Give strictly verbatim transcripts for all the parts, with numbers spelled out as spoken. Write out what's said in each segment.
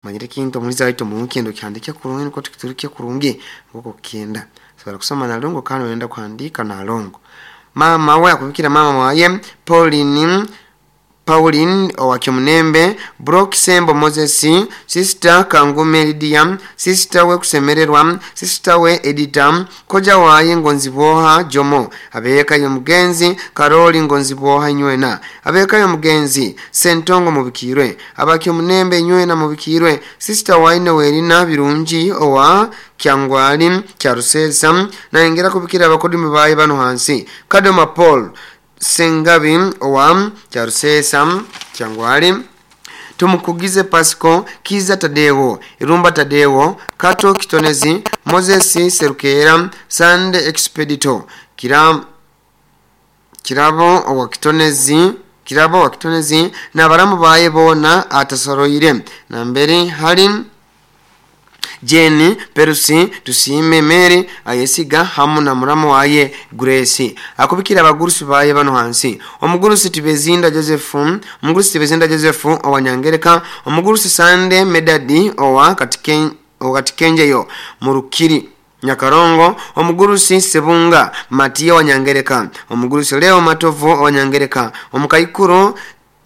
Manyire kintu omuliza waitu omunkendo kihandike kurungi niko tukiturike kurungi ngoko kenda sobola kusoma nalongo kandi oyenda kuhandika nalongo. Mama we akubikira mama waye Pauline Pauline owakyomunembe Brock Sembo Moses, Sister Kangume Lydia, Sister we kusemererwa, Sister we Edita, koja waye Ngonziboha Jomo, abeka yomugenzi Karoli Ngonziboha nywena, abeka yomugenzi Sentongo mubikirwe, abakyomunembe nywena mubikirwe, Sister waine Werina Birungi owa Kyangwali Kyarusesa, naengera kubikira abakodimi baye bano hansi Kadoma Paul Sengabi owa Kyarusesa Kyangwali, Tumukugize Pasco Kiza Tadeo Irumba Tadeo Kato Kitonezi Moses Serukera Sande Expedito Kiram Kirabo owa Kitonezi Kirabo wa Kitonezi na baramu baye bona atasoroire nambere hari Jenny Perusi Tusime Mary ayesiga hamu na muramu waye Grace. Akubikira abagurusi baye bano hansi omugurusi Tibezinda Joseph, omugurusi Tibezinda Joseph owanyangereka, omugurusi Sande Medadi owa Katiken Katikenjeyo Murukiri Nyakarongo, omugurusi Sebunga Matia wanyangereka, omugurusi Leo Matovu owanyangereka, omukaikuru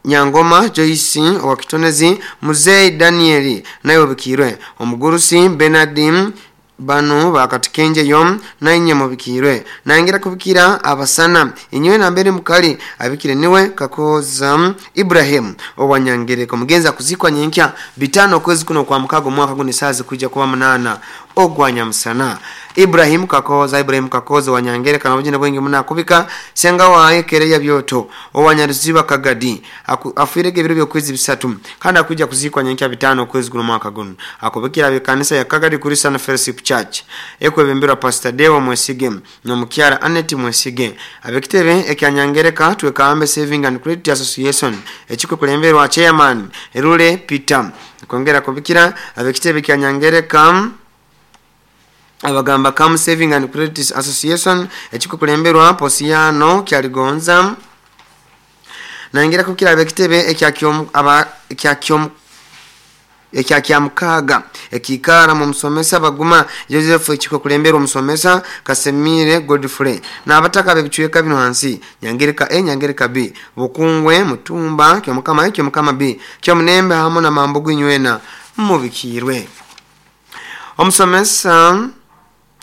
Nyangoma Joyce owa Kitonezi, Muzei Danieli naye obikirwe, omugurusi Bernard banu bakatikenjeyo nainye mubikirwe. Naingira kubikira abasana inywe nambere mukali abikire niwe Kakoza Ibrahim owanyangereka. Mugenza kuzikwa nyenkya bitano kwezi kuno kwa mukago mwaka guni sazi kuja kuba munana ogwanya musana. Ibrahim Kakoza Ibrahim Kakoza wanyangereka na bujina bwengi muna kubika senga waye kereya byoto owanyaruziba Kagadi afirege ebiro byokwezi bisatu kandi akuja kuzikwa nyenkya bitano kwezi kuno mwaka guno. Akubikira abekanisa ya Kagadi Christian Fellowship Church ekwebembera Pastor Deo Mwesige no mukyara Annette Mwesige. Abekitebe ekyanyangereka twekambe Saving and Credit Association ekiko kulemberwa chairman Erule Peter. Kongera kubikira abekitebe ekyanyangereka abagamba Kam Saving and Credit Association ekiko kulemberwa Posiano Kyaligonza. Naingira kubikira abekitebe ekyakyom aba ekyakyom ekyakyamkaga ekikara mu musomesa baguma Joseph ekiko kulemberwa musomesa Kasemire Godfrey na abataka bebichweka bino hansi Nyangereka A Nyangereka B Bukungwe Mutumba Kyomukama Kyomukama B Kyomunembe hamo na Mambugu nywena mubikirwe. Omusomesa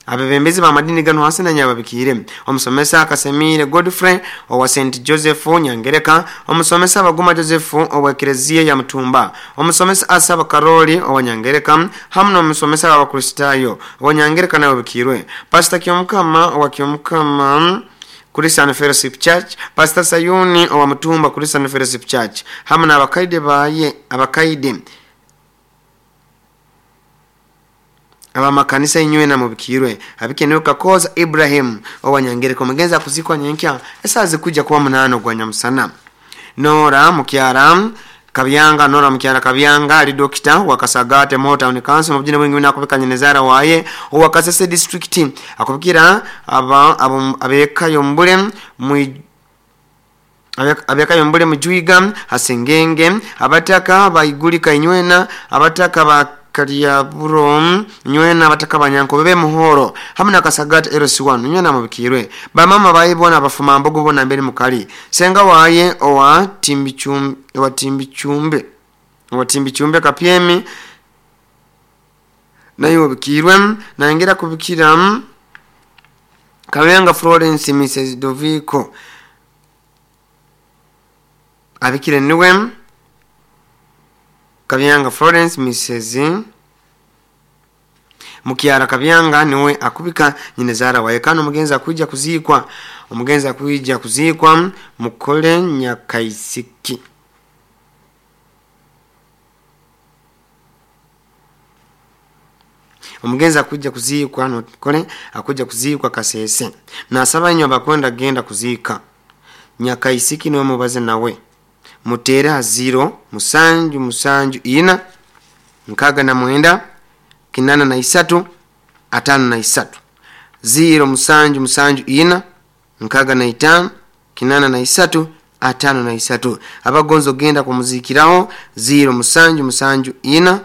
abebembezi ba madini gano hasi na nyababikire omusomesa Kasemire Godfrey owa Saint Joseph Nyangereka, omusomesa Baguma Joseph owa Eklezia ya Mutumba, omusomesa Asaba Karoli owa Nyangereka hamu n'omusomesa wa Kristayo owa Nyangereka nawe bikirwe, Pastor Kyomukama owa Kyomukama Christian Fellowship Church, Pastor Sayuni owa Mutumba Christian Fellowship Church hamu n'abakaide baye abakaide abamakanisa inywe na mubikirwe. Abikenewe Kakoza Ibrahim owanyangereka omugenzi akuzikwa nyenkya esazi kuja kuba munano gwa nyamusana. Nora Mukyara Kabyanga Nora Mukyara Kabyanga ali dokita wa Kasagate Motown Council mubjina bwingi nakubika nyenezara waye owa Kasese District akubikira aba abeka yombule mu abeka yombule mujuiga hasengenge abataka baigulika inywena abataka ba Kalyaburo nywena abataka banyanko bebe muhoro hamwe na Kasagate L C one nywena mubikirwe. Bamama bayibona abafuma mbogo bona mbere mukali senga waye owa timbichumbe owa timbichumbe owa timbichumbe kapyemi nayo bikirwe. Naingira kubikira Kabenga Florence Missus Doviko abikire niwe Kabyanga Florence Missus Mukyara Kabyanga niwe akubika nyinezara waye kano omugenzi akuja kuzikwa omugenzi akuja kuzikwa mukole Nyakaisiki. Omugenzi akuja kuzikwa nokole akuja kuzikwa Kasese nasaba nyo bakwenda genda kuzika Nyakaisiki niwe mubaze nawe mutera zero musanju musanju ina nkaga na mwenda kinana na isatu atano na isatu zero musanju musanju ina nkaga na itano kinana na isatu atano na isatu abagonzo genda kumuzikiraho zero musanju musanju ina